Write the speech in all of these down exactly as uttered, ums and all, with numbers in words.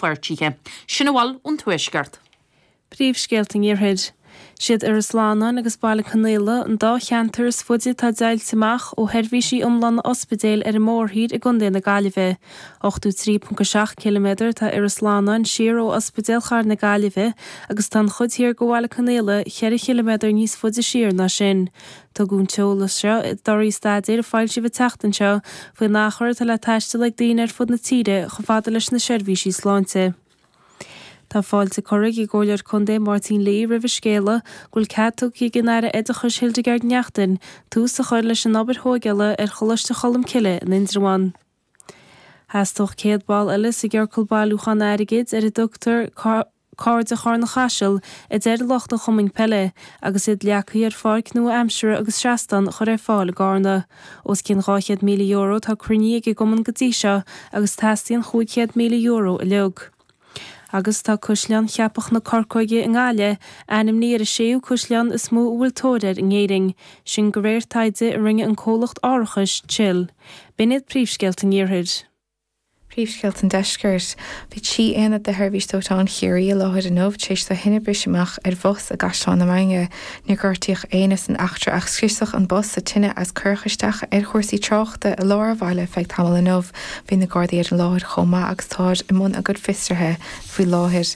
rannpháirtithe. Sin a bhfuil ón Tuaisceart. Príomhscéalta an Iarthair. Siad Iorras Fhlannáin agus Baile Conaola an dá cheantar is faide atá deighilte amach ó sheirbhísí iomlána ospidéil ar an mórthír i gContae na Gaillimhe. ochtó trí ponc a seacht ciliméadar atá Iorras Fhlannáin siar ó Ospidéal Chathair na Gaillimhe agus tá an chuid thiar de Bhaile Conaola ceithre chiliméadar níos faide siar ná sin. Tugadh an t-eolas seo i dtorthaí staidéir a foilsíodh an tseachtain seo faoin achar atá le taisteal ag daoine ar fud na tíre chomh fada leis na seirbhísí sláinte. Tá fáilte curtha ag an gComhairleoir Contae Máirtín Lee roimh an scéala go bhfuil cead tugtha ag an Aire Oideachais Hildegarde Naughton tús a chur leis an obair thógála ar Choláiste Cholmcille in Indreabhán. Theastódh céad ball eile sa gciorcal bailiúchán airgid ar a dtugtar Cairde Charna Chaisil a deir lucht an chumainn peile agus iad leagtha ar pháirc nua-aimseartha agus seastán a chur ar fáil i gCarna. Os cionn dhá chéad míle euro atá cruinnithe ag an gcumann go dtí seo agus teastaíonn chúig chéad míle euro uilig. Agus tá Caisleán Cheapach na Corcóige i nGaillimh ainmnithe ar an séú caisleán is mó a bhfuil tóir air in Éirinn, sin de réir taighde a rinne an comhlacht árachais Chill. B'in iad príomhscéalta an Iarthair. Príomhscéalta an Deiscirt. Bhí trí aonad de Sheirbhís Dóiteáin Chiarraí i láthair inniu tar éis do thine briseadh amach ar bhus i gCaisleán na Mainge. Níor gortaíodh éinne san eachtra ach scriosadh an bus sa tine agus cuireadh isteach ar chúrsaí tráchta i lár an bhaile feadh tamaill inniu. Bhí na Gardaí ar an láthair chomh maith agus táid i mbun a gcuid fiosraithe faoi láthair.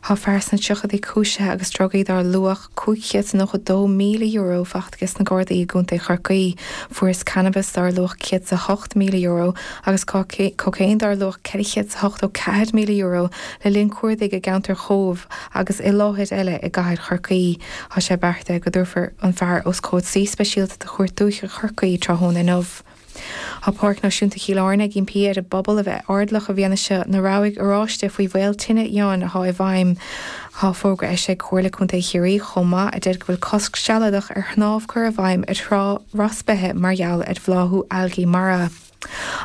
Tá fear sna tríochaidí cúisithe agus drugaí dar luach cúig chéad is nócha dó míle euro faighte aige sna Gardaí i gContae Chorcaí. Fuarthas cannabas dar luach céad is a hocht míle euro agus cócaon dar luach ceithre chéad is ochtó ceathair míle euro le linn cuardaigh i gceantar Chóbh agus i láthair eile i gcathair Chorcaí. Tá sé beartaithe go dtabharfar an fear os comhair suí speisialta de Chúirt Dúiche Chorcaí tráthnóna inniu. Tá Páirc Náisiúnta Chill Airne ag impí ar an bpobal a bheith airdeallach i bhfianaise na rabhaidh oráiste faoi bhaol tine fhiáin atá i bhfeidhm. Tá fógra eisithe ag Comhairle Contae Chiarraí chomh maith a deir go bhfuil cosc sealadach ar shnámh curtha i bhfeidhm ar thrá Ros Beithe mar gheall ar bhláthú algaí mara.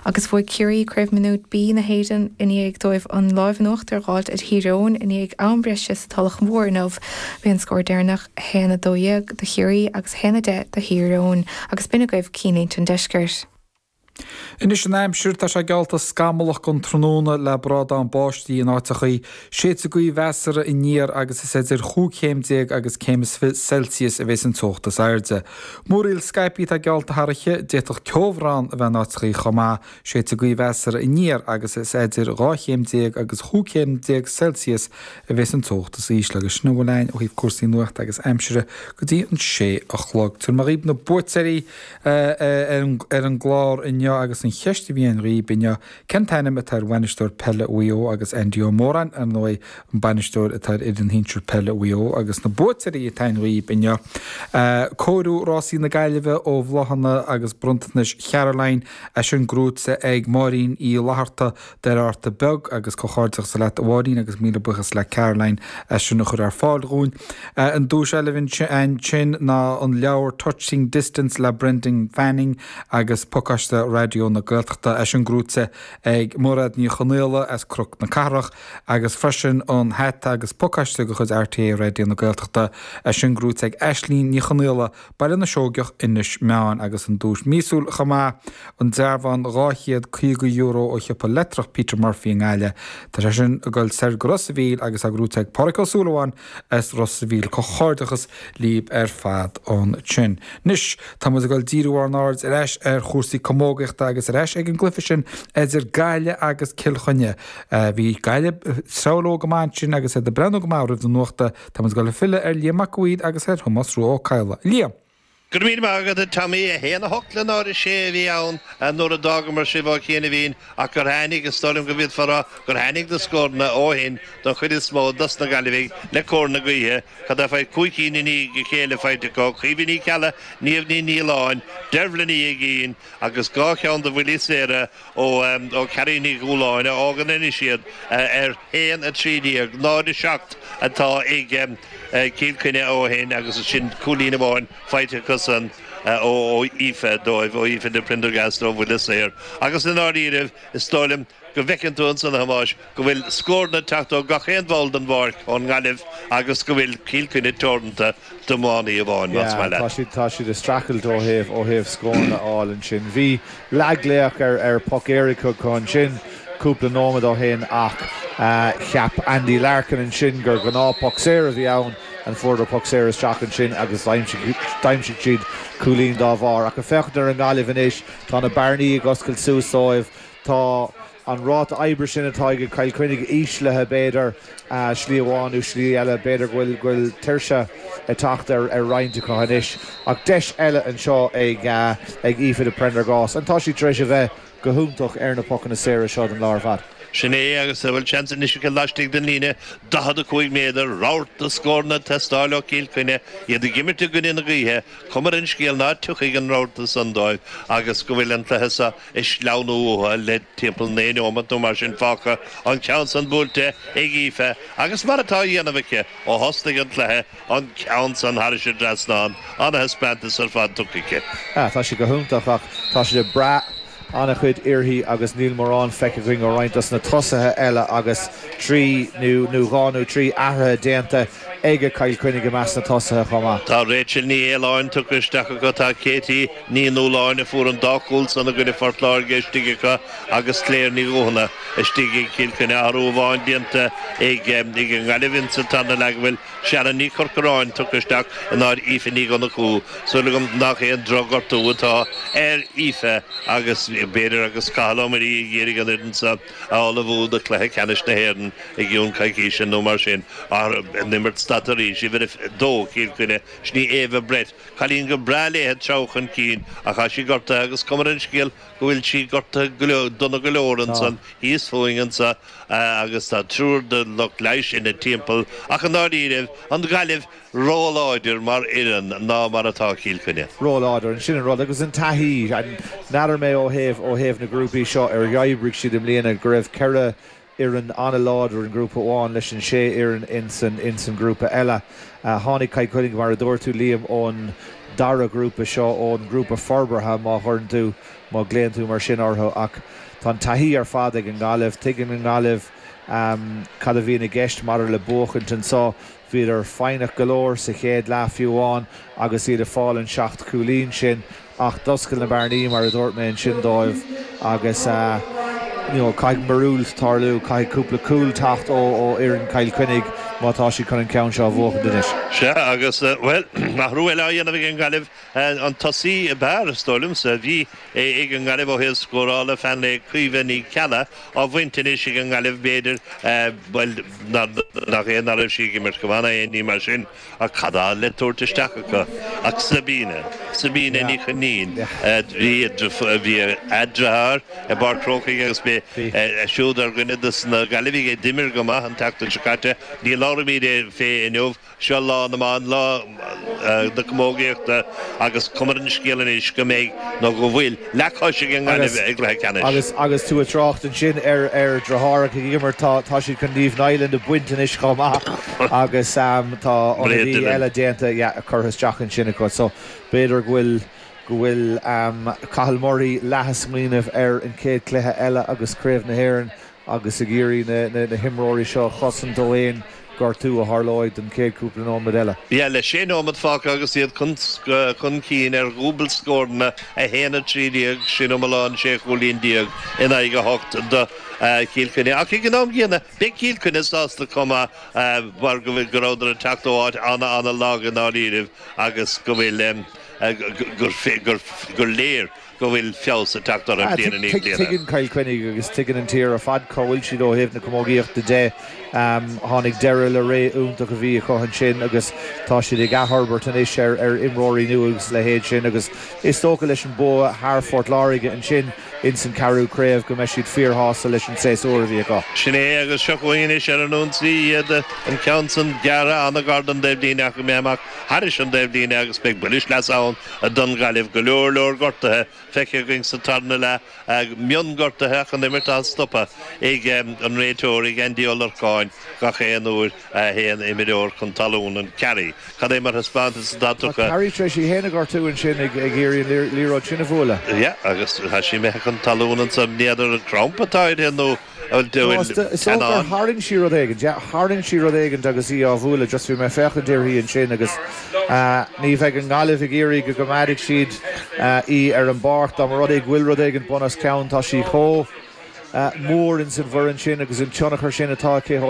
Agus bhuaigh Ciarraí Craobh Mionúr B na hÉireann i ndiaidh dóibh an láimh in uachtar a dh'fháilt ar Thír Eoghain i ndiaidh am breise sa Tulach Mhór inniu. Bhí an scór deireanach a haon a dó dhéag do Chiarraí agus a haon a deich do Thír Eoghain agus b'in agaibh cinnlínte an deiscirt. Anois an aimsir, tá sé geallta scamallach don tráthnóna le brádán báistí in áiteachaí. Séidfidh gaoth mheasartha aniar agus is idir chúig chéim déag agus céim is fiche Celsius a bheas an teocht is airde. Múraíl scaipthe atá geallta thar oíche, d'fhéadfadh ceobhrán a bheith in áiteachaí chomh maith. Séidfidh gaoth mheasartha aniar agus is idir dhá chéim déag agus chúig chéim déag Celsius a bheas an teocht is ísle. Agus sin a bhfuil againn ó thaobh cúrsaí nuachta agus aimsire go dtí an sé a chlog. Tabharfaidh mé dhaoibh na buaiteoirí ar an gclár inniu agus an cheist a bhí againn dhaoibh inniu, cén t-ainm atá ar bhainisteoir peile Mhaigh Eo agus Andy Ó Móráin, ar ndóigh, an bainisteoir atá ar fhoireann shinsir peile Mhaigh Eo agus na buaiteoirí atá againn dhaoibh inniu, cóiriú Rásaí na Gaillimhe ó bhláthanna agus bronntanais Charoline, é sin gnóite ag Máirín Uí Fhlatharta Doire Fhatharta Beag agus comhghairdeachas leat a Mháirín agus míle buíochas le Caroline as sin a chur ar fáil dhúinn. An duais eile ansin ná an leabhar Touching Distance le Brendan Fanning agus pacáiste Raidió na Gaeltachta, é sin gnóite ag Mairéad Ní Chonaola as Cnoc na Cathrach agus freisin an hata agus pacáiste de chuid RTÉ Raidió na Gaeltachta, é sin gnóite ag Aislínn Ní Chonaola, Baile na Seoigeach, Inis Meáin agus an duais míosúil chomh maith, an dearbhán dhá chéad caoga euro ó shiopa leictreach Peter Murphy i nGaillimh. Tá sé sin ag dul soir go Ros a' Mhíl agus é gnóite ag Pádraic Ó Súilleabháin as Ros a' Mhíl. Comhghairdeachas libh ar fad ansin. Anois, tá muid ag dul díriú ár n-aird ar ais ar chúrsaí camógaíochta agus ar ais ag an gcluiche sin idir Gaillimh agus Cill Chainnigh. Bhí Gaillimh ag treabhadh leo go maith ansin agus iad ag breathnú go maith roimh na nuachta. Tá muid ag dul ag filleadh ar Liam Mac a' Mhaoir agus ar Thomás Rua Ó Cadhla. Liam! Go raibh míle maith agat, a Tommy. A haon a hocht le náid a sé a bhí ann nuair a d'fhágamar sibh ó chianaibhín ach gur tháinig, is dóigh liom go bhféadfá a rá gur tháinig na scóranna ó shin don chuid is mó dos na Gaillimhigh le cóir na gaoithe. Cad é fé cúig cinn i ndiaidh a chéile faighte acu, Caoimhe Ní Cheallaigh, Niamh Ní Nialláin, Deirbhile Ní Uigín agus dhá cheann de bhuillí saora ó Carrie Ní Dhúláin a fhágann anois iad ar haon a trí déag, náid a seacht atá ag Cill Chainnigh ó shin agus sin cúilín amháin faighte acusan ó Aoife dóibh, ó Aoife de Prendergast ó bhuille saor. Agus i ndáiríribh, is dóigh liom go bhfeiceann tú ansan, a Thomáis, go bhfuil scóranna ag teacht ó gach aon bhall den bpáirc ón nGaillimh agus go bhfuil Cill Chainnigh teoranta d'iománaí amháin, más Yeah, maith tá leat. siad, tá siad ag streachailt ó thaobh, ó thaobh scóranna a fháil ansin. Bhí leathghlaoch ar, ar poc éirice acu ansin. cúpla nóiméad ó shin ach cheap Andy Larkin ansin gur gnáth poc saor a bhí ann an fuaireadar poc saor isteach ansin agus d'aimsigh siad cúilín dá bharr. Ach ag féachaint ar an nGaillimh anois tá na bearnaí ag oscailt suas dóibh, tá an ráta oibre sin atá ag Cill Chainnigh íslithe b'fhéidir slí amháin nó slí eile, b'fhéidir go bhfuil go bhfuil tuirse ag teacht ar ar roinnt acu anois. Ach deis eile anseo ag ag Aoife de Prendergast and tá sí tar éis a bheith go hiontach ar na pocanna saora seo don lá ar fad. Sin é agus bhfuil seans anois aici laistigh den líne daichead a cúig méadar, rabharta de scóranna ag teastáil ó Chill Chainnigh, iad ag imirt i gcoinne na gaoithe, cuma ar an scéal ná tiocfaidh an rabharta san dóibh agus go bhfuil an cluiche seo ag sleamhnú uathu le timpeall naoi neomat nó mar sin fágtha, an ceann san buailte ag Aoife agus mar atá á dhéanamh aici ó thosnaigh an cluiche, an ceann san thairis an dtrasnán, ana-thaispeántas ar fad tugtha aici. Tá sí go hiontach ach tá siad ag brath an-chuid uirthi agus níl mórán feicthe againn ó roinnt dos na tosaithe eile agus trí nó nó dhá nó trí athruithe déanta ag Cill Chainnigh i measc na tosaithe chomh maith. Tá Rachel Ní Fhaoláin tugtha isteach acu, tá Katie Ní Nualláin a fuair an dá chúl san i gcoinne Phort Láirge istigh acu agus Claire Ní Dhuthúna istigh ag Cill Chainnigh. Athrú amháin déanta ag ag an nGaillimh insa tarna leath go bhfuil Sharon Ní Chorcoráin tugtha isteach in áit Aoife Ní Dhonnchú. Súil agam nach aon drochghortú atá ar Aoife agus b'fhéidir agus Cathal Ó Muirí ag iarraidh an fhoireann seo a ullmhú do chluiche ceannais na hÉireann i gcionn coicíse nó mar sin. An imirt stadta arís, uimhir a dó, Cill Chainnigh, sin í Ava Brett. Cailín go breá léi ag treabhadh chun cinn ach tá sí gortaithe agus cuma ar an scéal go bhfuil sí gortaithe dona go leor ansan thíos fúinn anso agus tá triúr de lucht leighis ina timpeall ach i ndáiríribh, an Ghaillimh róláidir mar fhoireann ná mar atá Cill Chainnigh. Róláidir, sin an rud agus an taithí. N'fheadar mé ó thaobh ó thaobh na grúpaí seo ar oibrigh siad i mbliana go raibh ceithre fhoireann an-láidir in grúpa amháin leis an sé fhoireann insan insan grúpa eile. Tháinig Cill Chainnigh mar a dúirt tú Liam ón dara grúpa seo, ón ngrúpa forbartha má chuireann tú, má ghlaonn tú mar sin orthu ach tá an taithí ar fad ag an nGaillimh. Tuigeann an Ghaillimh cad a bhíonn i gceist maidir le buachaint anseo. Bhíodar foighneach go leor sa chéad leath fiú amháin agus iad ag fáil an seacht cúilín sin ach d'oscail na bearnaí mar a dúirt mé ansin dóibh agus you know caithfidh míorúilt tarlú, caithfidh cúpla cúl teacht ó fhoireann Chill Chainnigh má tá siad chun an ceann seo a bhuachaint anois. Sea agus, bhuel, athrú eile á dhéanamh ag an nGaillimh, an tosaí ab fhearr, is dóigh liomsa, a bhí ag an nGaillimh ó thaobh scórála, fan le Caoimhe Ní Cheallaigh, á bhaint anois ag an nGaillimh, b'fhéidir, bhuel, nach é nach raibh sí ag imirt go maith ná aon ní mar sin, ach cad tá le tabhairt isteach acu ach Sabina, Sabina Ní Chainnín, bhí bhí a deartháir i bPáirc Chrócaigh agus bhí siúd ar dhuine de na Gaillimhigh a d'imir go maith an tseachtain seo caite. Ní labhraímid fé inniu. Seo lá na mban, lá na camógaíochta agus cuma ar an scéal anois go mbeidh, nó go bhfuil, leathchois ag an nGaillimh i gcluiche ceannais. Agus agus tú ag trácht ansin ar ar deartháireacha ag imirt, tá tá siad chun Niamh Niland a bhaint anois chomh maith agus tá ionadaí eile déanta, yeah, curtha isteach ansin acu. So b'fhéidir go bhfuil go bhfuil Cathal Murray leath ag smaoineamh ar an chéad chluiche eile agus Craobh na hÉireann agus ag iarraidh na na himreoirí seo a chosaint ó aon gortú a tharlóidh don chéad cúpla nóiméad eile. Yeah, le sé nóiméad fágtha agus iad chun cinn ar dhúbailt scóranna, a haon a trí déag, sin iomlán sé chúilín déag in aghaidh a hocht do Chill Chainnigh. Ach ag an am gcéanna, beidh Cill Chainnigh sásta chomh maith mar go bhfuil go rabhadar ag teacht ó áit ana-ana-lag i ndáiríribh agus go bhfuil gur léir go bhfuil feabhas ag teacht orthu bliain i ndiaidh bliana. Tuigeann Cill Chainnigh agus tuigeann an tír ar fad cá bhfuil siad ó thaobh na camógaíochta de. Tháinig deireadh le ré iontach a bhí acu ansin agus tá siad ag athfhorbairt anois ar ar imreoirí nua agus a leithéid sin agus is dócha leis an bua thar Phort Láirge ansin ins an ceathrú craobh go mbeidh siad fíorshásta leis an séasúr a bhí acu. Sin é agus seo chugainn anois ar an ionsaí iad, an ceann san gearrtha an-ghar don dtaobhlíne ach imithe amach thairis an dtaobhlíne agus beidh buille sleasa ann don Ghaillimh. Go leor leor gortuithe feicthe againn sa tarna leath, mionghortuithe ach an imirt á stopadh ag an réiteoir, ag Andy Ó Lorcáin gach aon uair a théann imreoir chun talún. An Carey, cad é mar thaispeántas atá Tá tugtha? Carey tar éis í féin a ghortú ansin ag iarraidh an liathróid sin a bhualadh. Yeah, agus tá sí imithe chun talún ansan, n'fheadar an crampa atá uirthi nó an No, is bhfuil dócha gur teannán. tharraing sí rud éigin. Yeah, tharraing sí rud éigin agus í á bhualadh. Just bhí mé ag féachaint uirthi ansin agus ní bheidh an Ghaillimh ag iarraidh go gcoimeádfaidh siad í ar an bpáirc. Dá mba rud é go bhfuil rud éigin bun os cionn, tá sí chomh mór ins an bhfoireann sin agus an tionchar sin atá aici ó